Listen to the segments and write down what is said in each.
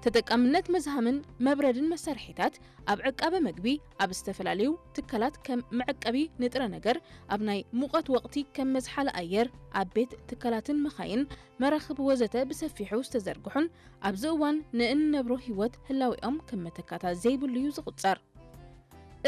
ተጠቃምነት መዝሃምን መብረድን መሳርሒታት ኣብ ዕቃበ መግቢ፣ ኣብ ዝተፈላለዩ ትካላት ከም መዕቀቢ ንጥረ ነገር፣ ኣብ ናይ ሙቐት ወቕቲ ከም መዝሓሊ ኣየር፣ ኣብ ቤት ትካላትን መኻይን፣ መራኽብ ወዘተ ብሰፊሑ ዝተዘርግሑን ኣብዚ እዋን ንእንነብሮ ህይወት ህላዌኦም ከም መተካእታ ዘይብሉ እዩ ዝቑጸር።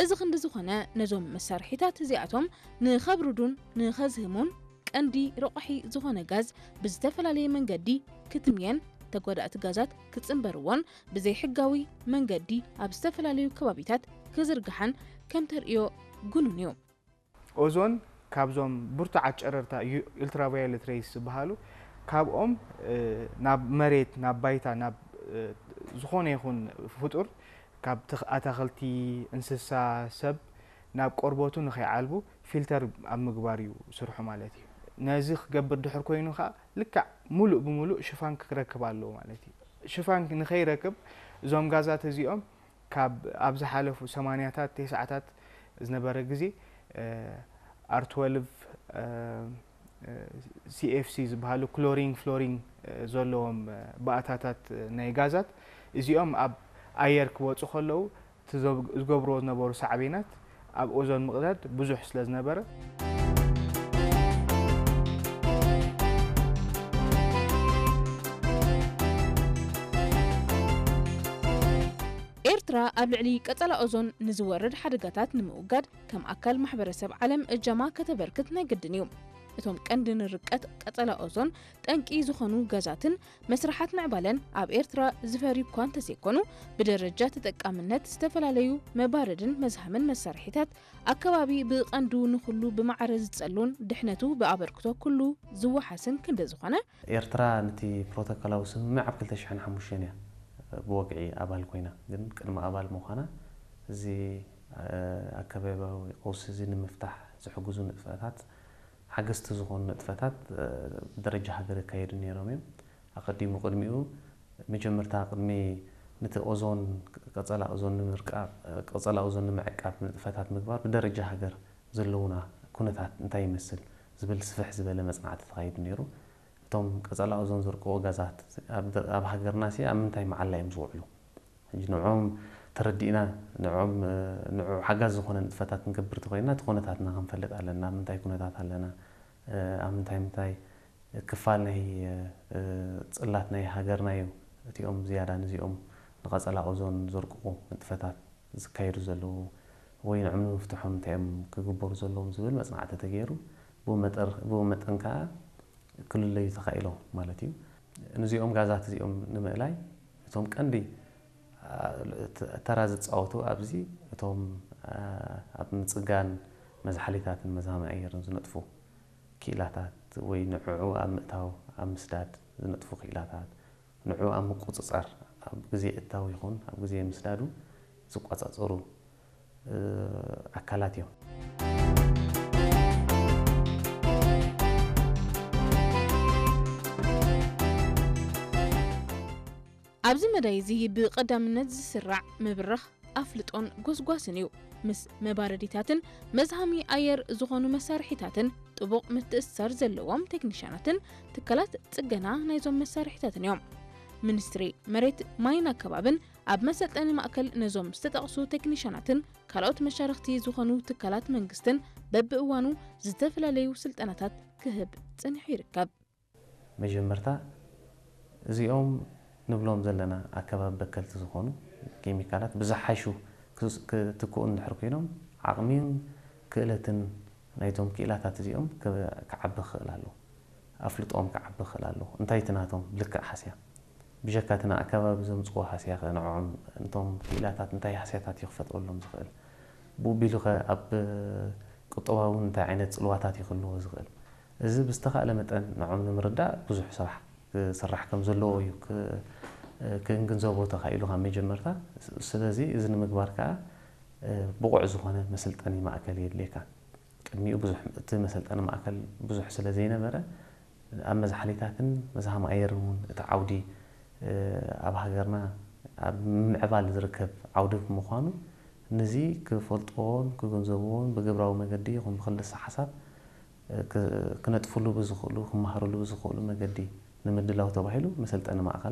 እዚ ክንዲ ዝኾነ ነዞም መሳርሒታት እዚኣቶም ንኸብርዱን ንኸዝህሙን ቀንዲ ረቋሒ ዝኾነ ጋዝ ብዝተፈላለየ መንገዲ ክትምየን ተጓዳእቲ ጋዛት ክጽንበርዎን ብዘይሕጋዊ መንገዲ ኣብ ዝተፈላለዩ ከባቢታት ክዝርግሓን ከም ተርእዮ ግኑን እዩ። ኦዞን ካብዞም ብርቱዓት ጨረርታ ultraviolet rays ዝበሃሉ ካብኦም ናብ መሬት ናብ ባይታ ናብ ዝኾነ ይኹን ፍጡር ካብ ኣታኽልቲ፣ እንስሳ፣ ሰብ ናብ ቆርበቱ ንኸይዓልቡ ፊልተር ኣብ ምግባር እዩ ስርሑ ማለት እዩ። ነዚ ክገብር ድሕር ኮይኑ ከዓ ልክዕ ሙሉእ ብሙሉእ ሽፋን ክረክብ ኣለዎ ማለት እዩ። ሽፋን ንኸይረክብ እዞም ጋዛት እዚኦም ካብ ኣብ ዝሓለፉ ሰማንያታት ተስዓታት ዝነበረ ግዜ R12 CFC ዝበሃሉ ክሎሪን ፍሎሪን ዘለዎም ባእታታት ናይ ጋዛት እዚኦም ኣብ ኣየር ክወፁ ከለዉ ዝገብርዎ ዝነበሩ ሳዕቤናት ኣብ ኦዞን ምቕዳድ ብዙሕ ስለ ዝነበረ ኤርትራ ኣብ ልዕሊ ቀጸላ ኦዞን ንዝወርድ ሓደጋታት ንምውጋድ ከም ኣካል ማሕበረሰብ ዓለም እጃማ ከተበርክት ናይ ግድን እዩ። እቶም ቀንዲ ንርቀት ቀጸላ ኦዞን ጠንቂ ዝኾኑ ጋዛትን መስርሓት ምዕባለን ኣብ ኤርትራ ዝፈርዩ እኳ እንተዘይኮኑ፣ ብደረጃ ተጠቃምነት ዝተፈላለዩ መባረድን መዝሃምን መሳርሒታት ኣከባቢ ብቐንዱ ንኹሉ ብማዕረ ዝጸሉን ድሕነቱ ብኣበርክቶ ኩሉ ዝወሓስን ክንዲ ዝኾነ፣ ኤርትራ ነቲ ፕሮቶኮላዊ ስምምዕ ኣብ ክልተ ሽሕን ሓሙሽተን እያ ብወግዒ ኣባል ኮይና፣ ግን ቅድሚ ኣባል ምዃና እዚ ኣከባብያዊ ቀውሲ እዚ ንምፍታሕ ዝሕግዙ ንጥፈታት ሓገዝቲ ዝኾኑ ንጥፈታት ብደረጃ ሃገር ይካየዱ ነይሮም እዮም። ኣቐዲሙ ቅድሚኡ መጀመርታ ቅድሚ ነቲ ኦዞን ቀጸላ ኦዞን ንምርቃቕ ቀጸላ ኦዞን ንምዕቃብ ንጥፈታት ምግባር ብደረጃ ሃገር ዘለውና ኩነታት እንታይ ይመስል ዝብል ስፍሕ ዝበለ መጽናዕቲ ተኻይዱ ነይሩ። እቶም ቀጸላ ኦዞን ዘርቅቑ ጋዛት ኣብ ሃገርና ሲ ኣብ ምንታይ መዓላ እዮም ዝውዕሉ? ሕጂ ንዕኦም ተረዲእና ንዕኦም ንዑ ሓጋዝ ዝኾነ ንጥፈታት ክንገብር ተኾይንና እቲ ኩነታትና ክንፈልጥ ኣለና። ኣብ ምንታይ ኩነታት ኣለና፣ ኣብ ምንታይ ምንታይ ክፋል ናይ ጽላት ናይ ሃገርና እዩ እቲኦም ዝያዳ ንዚኦም ንቐጸላ ኦዞን ዘርቅቑ ንጥፈታት ዝካየዱ ዘለዉ ወይ ንዕም ንምፍትሖም እንታይ እዮም ክግበሩ ዘለዎም ዝብል መጽናዕቲ ተገይሩ ብኡ መጠን ከዓ ክልለዩ ተኻኢሎም ማለት እዩ። ንዚኦም ጋዛት እዚኦም ንምእላይ እቶም ቀንዲ ተራ ዝፃወቱ ኣብዚ እቶም ኣብ ምፅጋን መዝሓሊታትን መዝሃሚ ኣየርን ዝነጥፉ ክኢላታት ወይ ንዕዑ ኣብ ምእታው ኣብ ምስዳድ ዝነጥፉ ክኢላታት ንዕኡ ኣብ ምቁጽጻር ኣብ ግዜ እታው ይኹን ኣብ ግዜ ምስዳዱ ዝቋጻጸሩ ኣካላት እዮም። ኣብዚ መዳይ እዚ ብቐዳምነት ዝስራዕ ምብራኽ ኣፍልጦን ጎስጓስን እዩ። ምስ መባረዲታትን መዝሃሚ ኣየር ዝኾኑ መሳርሒታትን ጥቡቕ ምትእስሳር ዘለዎም ቴክኒሻናትን ትካላት ጽገና ናይዞም መሳርሒታትን እዮም። ሚኒስትሪ መሬት ማይን ኣከባብን ኣብ መሰልጠኒ ማእከል ነዞም ዝተጠቕሱ ቴክኒሻናትን ካልኦት መሻርኽቲ ዝኾኑ ትካላት መንግስትን በብእዋኑ ዝተፈላለዩ ስልጠናታት ክህብ ጽኒሑ ይርከብ። መጀመርታ እዚኦም ንብሎም ዘለና ኣከባቢ በከልቲ ዝኾኑ ኬሚካላት ብዝሓሹ ክትክኡ እንድሕር ኮይኖም ዓቕሚን ክእለትን ናይቶም ክኢላታት እዚኦም ክዓቢ ክኽእል ኣለዎ። ኣፍልጦኦም ክዓቢ ክኽእል ኣለዎ። እንታይ እቲ ናቶም ልክዕ ሃስያ ብጀካ እቲ ንኣከባቢ ዘምፅዎ ሃስያ ኸ ንዕኦም እቶም ክኢላታት እንታይ ሃስያታት እዩ ክፈጥረሎም ዝኽእል? ብኡ ቢሉ ኸ ኣብ ቁጠባዊ እንታይ ዓይነት ፅልዋታት እዩ ክህልዎ ዝኽእል? እዚ ብዝተኻእለ መጠን ንዖም ንምርዳእ ብዙሕ ስራሕ ክስራሕ ከም ዘለዎ እዩ ክንግንዘቦ ተኻኢሉ ካብ መጀመርታ። ስለዚ እዚ ንምግባር ከዓ ብቑዕ ዝኾነ መስልጠኒ ማእከል የድልየካ። ቅድሚኡ ብዙሕ እቲ መሰልጠኒ ማእከል ብዙሕ ስለ ዘይነበረ ኣብ መዝሓሊታትን መዝሃም ኣየርን እውን እቲ ዓውዲ ኣብ ሃገርና ኣብ ምምዕባል ዝርከብ ዓውዲ ብምዃኑ ነዚ ክፈልጥዎን ክግንዘብዎን ብግብራዊ መገዲ ይኹን ብክልሰ ሓሳብ ክነጥፍሉ ብዝኽእሉ ክመሃርሉ ብዝኽእሉ መገዲ ንምድላው ተባሂሉ መሰልጠኒ ማእኸል